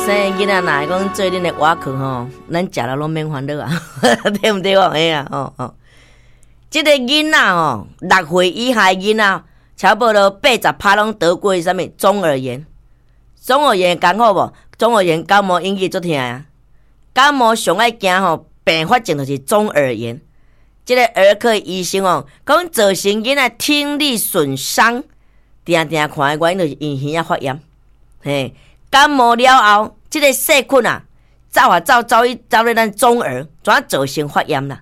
生囡仔若會講做恁的碗殼吼，咱食了攏免煩惱啊，對毋對？嘿啊，吼吼。這个囡仔吼，6歲以下的囡仔，差不多80趴攏得過啥物中耳炎。中耳炎艱苦無？中耳炎感冒引起足疼啊！感冒上愛驚吼，併發症就是中耳炎。這个兒科醫生哦，講造成囡仔聽力損傷，定定看的原因就是因耳仔發炎。嘿，感冒了後，這个細菌啊，走啊走走去走咧咱中耳，怎造成發炎啦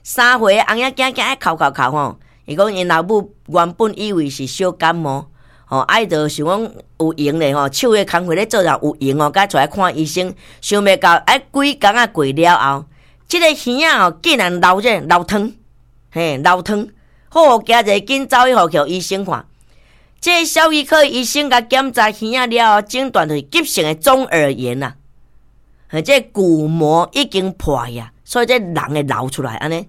？3歲的紅仔囝囝愛哭哭哭吼，伊講𪜶老母原本以為是小感冒，吼，啊伊就想講有閒咧吼，手的工課咧做了有閒哦，佮出來看醫生，想袂到愛幾工仔過了後，這个耳仔吼竟然流這流湯，嘿，流湯，好驚者緊走去予醫生看。這个小兒科醫生共檢查耳仔了後，診斷就是急性的中耳炎啦，嘿，這個鼓膜已經破呀，所以這膿會流出來按呢。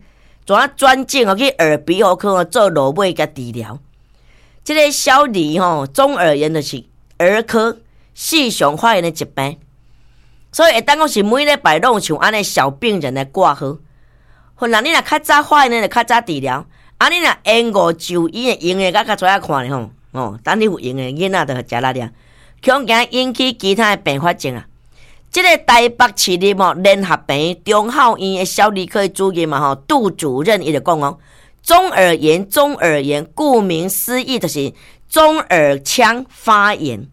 怎轉診哦去耳鼻喉科做落尾共治療。這个小兒吼中耳炎就是兒科時常發現的疾病，所以會當講是每禮拜攏有像按呢小病人來掛號。可能你若較早發現的，就較早治療。啊，你若延誤就醫的，閒的閣較出來看咧吼，哦，等你有閒的囡仔就食力了，恐驚引起其他的併發症啊。這个台北市立吼聯合病院中孝院的小兒科主任嘛吼，杜主任伊就講哦，中耳炎，中耳炎，顧名思義就是中耳腔發炎，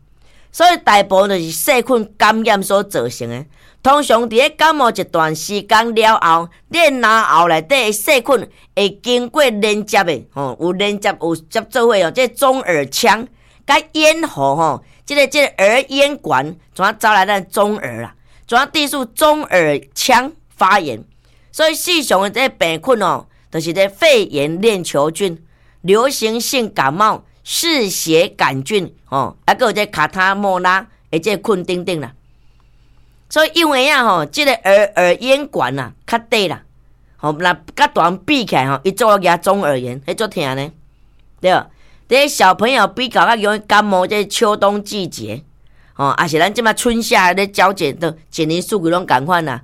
所以大部分就是細菌感染所造成的。通常佇咧感冒一段時間了後，你的咽喉內底的細菌會經過連接的吼，有連接有接做伙哦，這個中耳腔佮咽喉吼。這个耳咽管怎走來咱中耳啊？怎致使中耳腔發炎？所以時常的這个病菌哦，就是這肺炎鏈球菌、流行性感冒、嗜血桿菌哦，啊，閣有這卡塔莫拉的這個菌等等啦。所以因為啊吼，這个耳咽管啊較短啦，吼，若佮大人比起來吼，伊做舉中耳炎，彼足疼呢，對無？這小朋友比較較容易感冒，這秋冬季節，吼，也是咱這馬春夏咧交接，都一年四季攏仝款啦，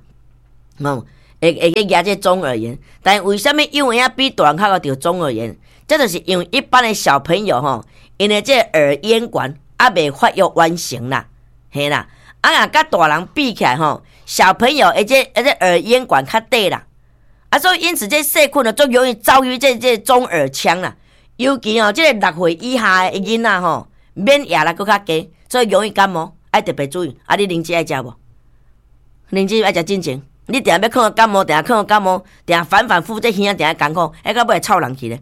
吼，會去舉這中耳炎。但為啥物幼兒仔比大人較會著中耳炎？這就是因為一般的小朋友吼，𪜶的這耳咽管猶未發育完成啦，嘿啦，啊若佮大人比起來吼，小朋友的這耳咽管較短啦，啊，所以因此這細菌呢，足容易走入這中耳腔啦。尤其哦，這个6歲以下的囡仔吼，免疫力閣較低，所以容易感冒，愛特別注意。啊，你靈芝愛食無？靈芝愛食進前，你定欲看感冒，定看感冒，定反反覆覆，這耳仔定艱苦，彼到尾會臭人去咧。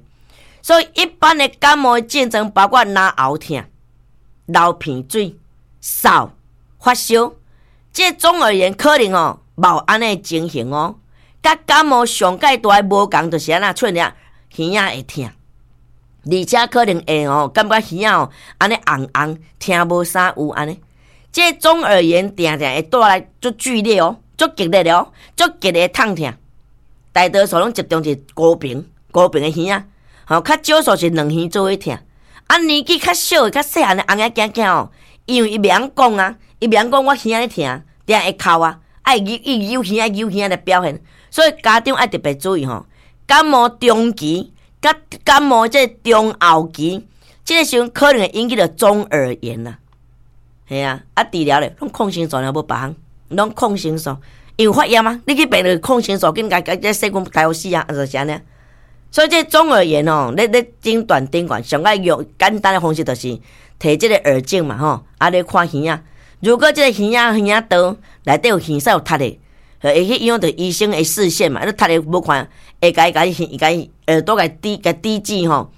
所以一般的感冒的症狀包括咽喉疼、流鼻水、嗽、發燒。這中耳炎可能哦，無按呢情形哦。佮感冒上蓋大的無仝就是按怎出現耳仔會疼。而且可能會哦，感覺耳仔哦，按呢紅紅，聽無啥有按呢。這中耳炎定定會帶來足劇烈哦，足激烈的哦，足激烈的痛疼。大多數攏集中佇孤爿，孤爿的耳仔，吼，較少數是兩耳做伙疼。啊，年紀較小的、較細漢的紅仔囝囝哦，因為伊袂曉講啊，伊袂曉講我耳仔咧疼，定會哭啊，愛扭伊扭耳仔扭耳仔來表現，所以家長愛特別注意吼，感冒中期。佮感冒這中後期，這个時陣可能會引起著中耳炎啦。嘿啊，啊治療咧，攏抗生素爾無別項，攏抗生素，因為發炎啊，你去病就抗生素，緊共共這細菌殺死啊，就是按呢。所以這中耳炎哦，咧診斷診斷，上愛用簡單的方式就是提這个耳鏡嘛吼，啊咧看耳仔。如果這個耳仔耳仔刀內底有耳屎有塞的，會去影響著醫生的視線嘛，你塞的無看，會共伊共伊共伊耳朵共滴共滴劑吼，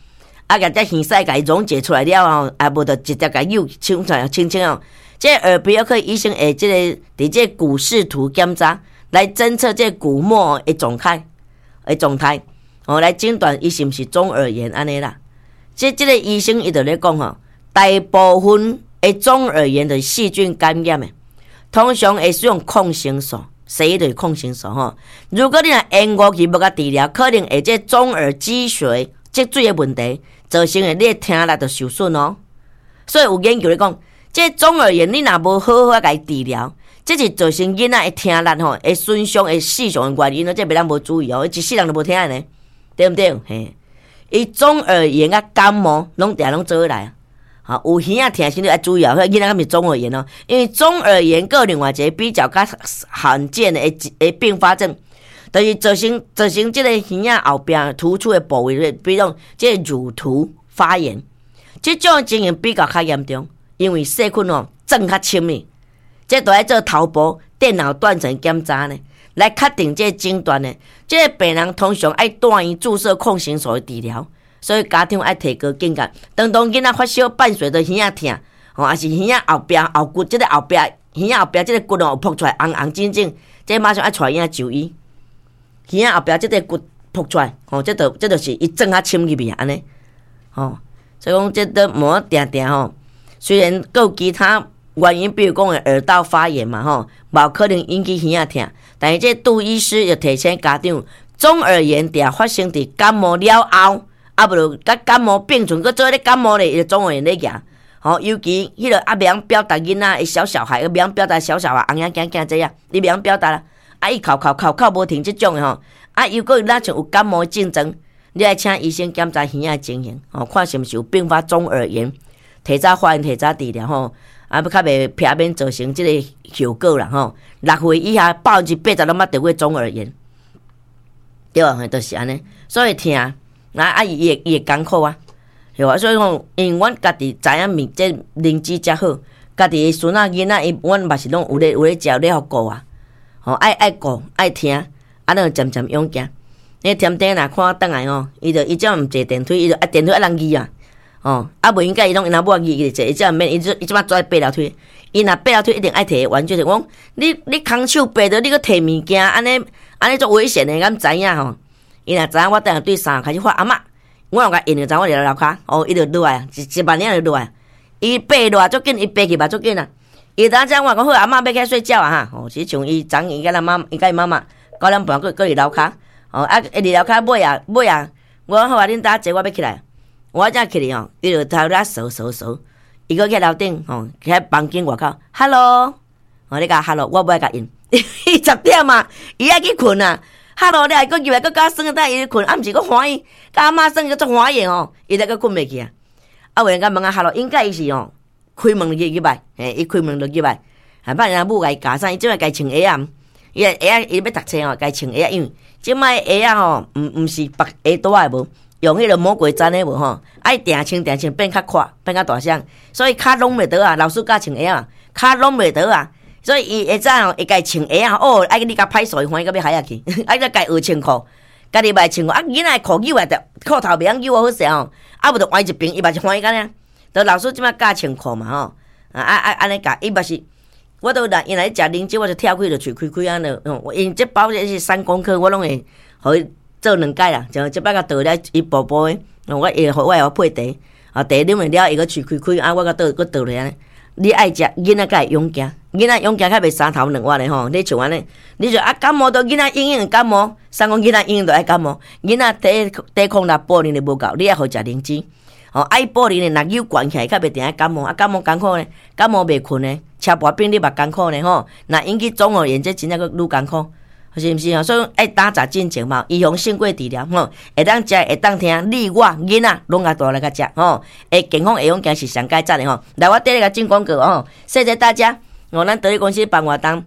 啊，共這耳屎共伊溶解出來了後，啊，無就直接共扭清出來清清哦。這耳鼻喉科醫生會這個佇這鼓室圖檢查來偵測這鼓膜的狀態的狀態，哦，來診斷伊是毋是中耳炎按呢啦。這個醫生伊就咧講吼，大部分的中耳炎就是細菌感染的，通常會使用抗生素。西醫就是抗生素吼。如果你若延誤去無共治療，可能會這中耳積水積水的問題，造成的你的聽力就受損哦。所以有研究咧講，這中耳炎你若無好好共伊治療，這是造成囡仔的聽力吼會損傷、會死傷的原因咯。這袂當無注意哦，一世人都無聽的呢，對毋對？嘿，伊中耳炎佮感冒攏定攏做伙來啊。吼，有耳仔疼時你愛注意哦，彼囡仔敢是中耳炎哦？因為中耳炎閣另外一個比較較罕見的併發症，就是造成這個耳仔後壁突出的部位，比如講這個乳突發炎，這種情形比較較嚴重，因為細菌哦鑽較深哩，這都愛做頭部電腦斷層檢查呢，來確定這個診斷呢。這個病人通常愛住院注射抗生素的治療。所以家長愛提高警覺，當囡仔發燒伴隨著耳仔疼，吼，抑是耳仔後壁後骨，這個後壁耳仔後壁這個骨哦膨出來紅紅腫腫，這馬上愛帶囡仔就醫。耳仔後壁這個骨膨出來，吼，這就是伊鑽較深入去啊，按呢，吼，所以講這都無定定吼。雖然閣有其他原因，比如講耳道發炎嘛，吼，無可能引起耳仔疼，但是這杜醫師又提醒家長，中耳炎定發生佇感冒了後。啊，無就佮感冒並存，閣做咧感冒咧，伊就中耳炎咧行。吼，尤其彼個啊袂曉表達囡仔的小小孩，袂曉表達小小孩，紅影驚驚這樣，你袂曉表達啦。啊，伊哭哭哭哭無停這種的吼，啊，又閣若像有感冒的症狀，你愛請醫生檢查耳仔的情形，吼，看是毋是有併發中耳炎，提早發現，提早治療吼，啊，欲較袂避免造成這個後果啦吼。6歲以下80%攏捌得過中耳炎，對無？就是按呢，所以疼。啊！伊會艱苦啊，對啊，所以講，因為阮家己知影物這認知才好，家己的孫仔囡仔，伊阮嘛是攏有咧食，有咧予顧啊，吼，愛顧愛疼，啊，咱就漸漸養行。你添丁若看我轉來吼，伊就伊這毋坐電梯，伊就啊電梯愛人揄啊，吼，啊袂應該伊攏𪜶翁某揄伊坐，伊這毋免，伊這擺做愛爬樓梯。伊若爬樓梯一定愛提玩具，我講你空手爬著，你閣提物件，按呢按呢足危險的，敢知影吼？伊若知影我等下對三樓開始喊阿嬤，我有共應就知我佇樓跤，哦，伊就落來，一萬領就落來。伊爬落來足緊，伊爬去嘛足緊啊。伊當遮我講好，阿嬤欲起來睡覺啊哈。哦，是像伊昨伊佮咱媽，伊佮伊媽媽九點半閣閣佇樓跤。哦，啊，伊佇樓跤尾啊尾啊，我講好啊，恁搭坐，我欲起來。我才起來吼，伊就頭咧踅踅踅，伊閣去樓頂吼，去房間外口，Hello，哦，你共 Hello，我無愛共應，伊10點啊，伊愛去睏啊。Hello 了，伊閣入來，閣佮我耍，等伊睏，啊，毋是閣歡喜，佮阿嬤耍閣足歡喜的吼，伊才閣睏袂去啊。啊，有閒甲問啊，Hello，應該伊是吼，開門就入來，嘿，伊開門就入來，啊，捌𪜶母共伊教啥，伊這擺共伊穿鞋仔，伊鞋仔伊欲讀冊吼，共伊穿鞋仔，因為這擺鞋仔吼，毋是縛鞋帶的無，用彼個魔鬼氈的無吼，愛定穿定穿變較闊，變較大雙，所以跤攏袂倒啊，老師教穿鞋仔，跤攏袂倒啊。所以伊會早吼，會共伊穿鞋仔哦，愛你共歹勢，歡喜到欲海仔去，愛閣共伊學穿褲，家己嘛會穿褲，啊，囡仔褲扭來著褲頭袂曉扭好勢吼，啊無就歪一邊，伊嘛是歡喜按呢。著老師這擺教穿褲嘛吼，啊啊啊按呢教，伊嘛是，我都若伊若咧食奶酒，我就跳開就喙開開按呢，因為這包這是3公克，我攏會予伊做兩擺啦，像這擺共倒了一薄薄的，我會予配茶，啊茶啉完了，伊閣喙開開，啊我閣倒閣倒落按呢。你愛食，囡仔才會勇健，囡仔勇健較袂三頭兩腕的吼。你像按呢，你說啊感冒都囡仔永遠會感冒，啥講囡仔永遠都愛感冒？囡仔抵抗力補能力無夠，你愛予食靈芝。吼，愛補能力若有懸起來，較袂定愛感冒。啊，感冒艱苦呢，感冒袂睏呢，車跋病你嘛艱苦呢吼。若引起中耳炎，這真正閣愈艱苦，是毋是啊？所以愛打雜進前嘛，預防勝過治療吼。會當食，會當聽，你我囡仔攏共帶來共食吼。會健康會勇健是上佳讚的吼。來，我綴來共進廣告吼，謝謝大家。哦，咱得力公司辦活動，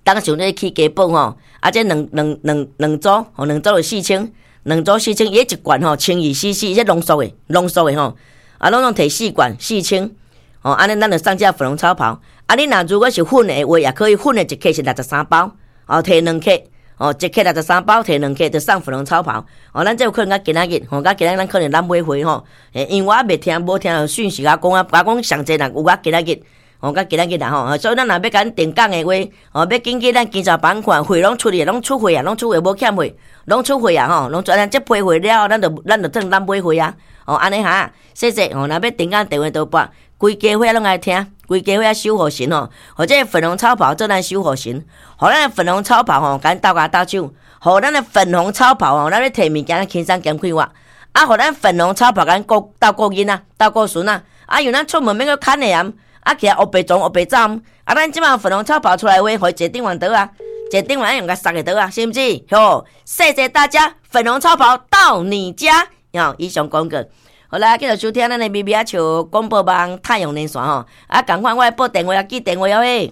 當想咧起雞煲吼，啊，這兩組，吼，兩組就四千。兩組四千，伊一罐吼，1200 cc，這濃縮的，濃縮的吼，啊，攏總提四罐四千，吼，按呢咱就上架粉紅超跑。啊，你若如果是粉的話，也可以粉的一克是63包，哦，提2克，哦，一克63包，提兩克就送粉紅超跑。哦，咱這有可能較今仔日，吼，較今仔日咱可能咱買貨吼，因為我猶未聽，無聽著訊息啊講啊，共我講上濟人有較今仔日。哦，較今仔日啦吼，所以咱若欲共訂港的話，哦，欲緊去咱經銷板塊，貨攏出去，攏出貨啊，攏出貨，無欠貨，攏出貨啊吼，攏出咱這批貨了後，咱就當咱買貨啊，哦，按呢哈，謝謝哦，若欲訂港電話都撥，規家伙攏愛聽，規家伙守護神吼，予這個粉紅超跑做咱守護神，予咱的粉紅超跑吼，共咱鬥跤鬥手，予咱的粉紅超跑吼，咱咧提物件輕鬆兼快活，啊，予咱粉紅超跑共咱顧鬥顧囡仔，鬥顧孫仔，啊，因為咱出門免閣牽的啊。啊，起來烏白撞烏白走。啊，咱這馬粉紅超跑出來話，予伊坐頂懸桌啊，坐頂懸愛用共捒的桌啊，是毋是？吼，謝謝大家，粉紅超跑到你家。吼，以上廣告。好啦，繼續收聽咱的微微仔笑廣播網太陽連線吼。啊，仝款我愛報電話啊，記電話哦嘿。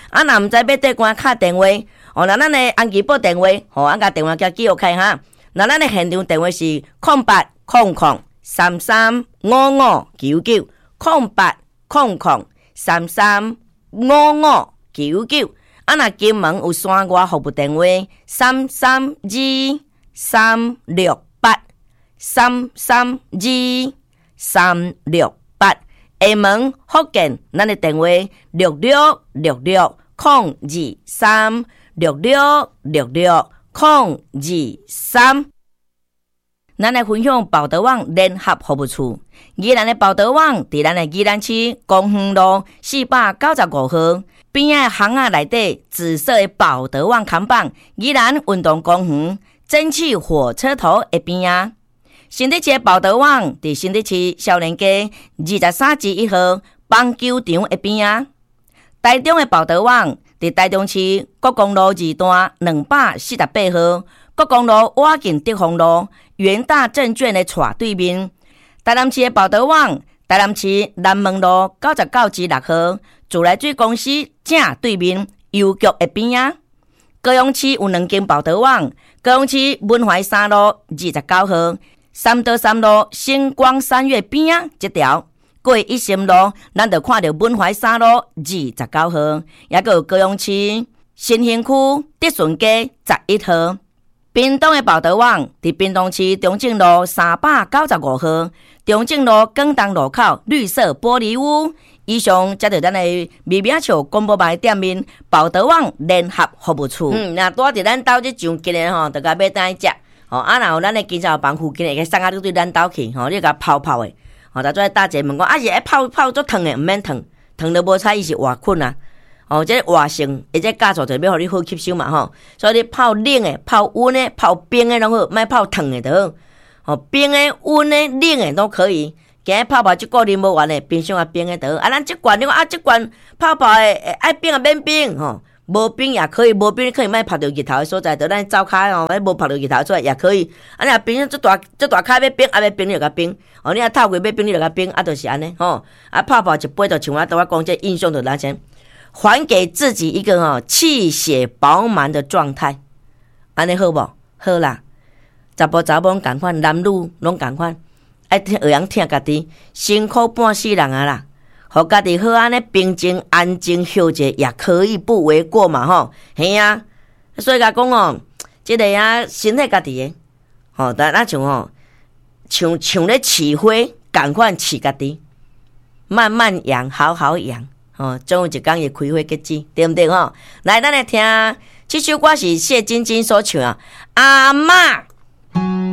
啊，若毋知欲佗關敲電話，哦，那咱的安琪報電話，吼，按共電話共記錄開哈。那咱的現場電話是0800335599，0800335599。啊，若金門有山外服務電話，332368，332368。廈門福建，咱的電話6666023，6666023。咱來分享寶德網聯合服務處，宜蘭的寶德網佇咱的宜蘭市公園路495號邊仔巷仔內底紫色的寶德網看板，宜蘭運動公園蒸汽火車頭的邊仔。新竹市的寶德網佇新竹市少年街23之1號棒球場的邊仔。台中的寶德網佇台中市國光路二段248號，國光路倚近德豐路元大證券的斜對面。台南市的寶德網，台南市南門路99之6號，自來水公司正對面郵局的邊仔。高雄市有兩間寶德網，高雄市文懷三路29號，三多三路星光三月邊仔這條。過一心路，咱就看著文懷三路29號，抑閣有高雄市新興區德順街11號。屏東的寶德網佇屏東市中正路395號，中正路廣東路口綠色玻璃屋。以上才著咱的微微仔笑廣播網店面寶德網聯合服務處。嗯，若拄佇咱兜這上近的吼，就共買轉來食。吼，啊，若有咱的經銷房附近會送啊，你對咱兜去吼，你共泡泡的。吼，逐做大姐問講，啊是愛泡泡足燙的，毋免燙，燙都無彩，伊是活菌啊。哦，這個活性，伊這酵素就欲予你好吸收嘛吼。所以你泡冷的、泡溫的、泡冰的攏好，莫泡燙的就好。吼，冰的、溫的、冷的攏可以。今日泡泡這個啉無完的，冰箱啊冰的就好。啊，咱這罐你講啊，這罐泡泡的愛冰啊免冰吼，無冰也可以，無冰你可以莫曬著日頭的所在，就咱灶跤吼，無曬著日頭出來也可以。啊，你若冰箱這大這大跤欲冰，啊欲冰你就共冰。哦，你若透過欲冰你就共冰，啊，就是按呢吼。啊，泡泡一杯就像我拄仔講這印象就咱先還給自己一個吼氣血飽滿的狀態，按呢好無？好啦，查埔查某仝款，男女攏仝款，愛疼會曉疼家己，辛苦半世人啊啦，予家己好按呢平靜安靜歇者也可以不為過嘛吼，嘿啊，所以共講哦，這個啊身體家己的，吼，但若像吼，像像咧飼花仝款飼家己，慢慢養，好好養。哦，總有一工會開花結籽，對毋對吼？來，咱來聽這首歌是謝晶晶所唱，阿嬤。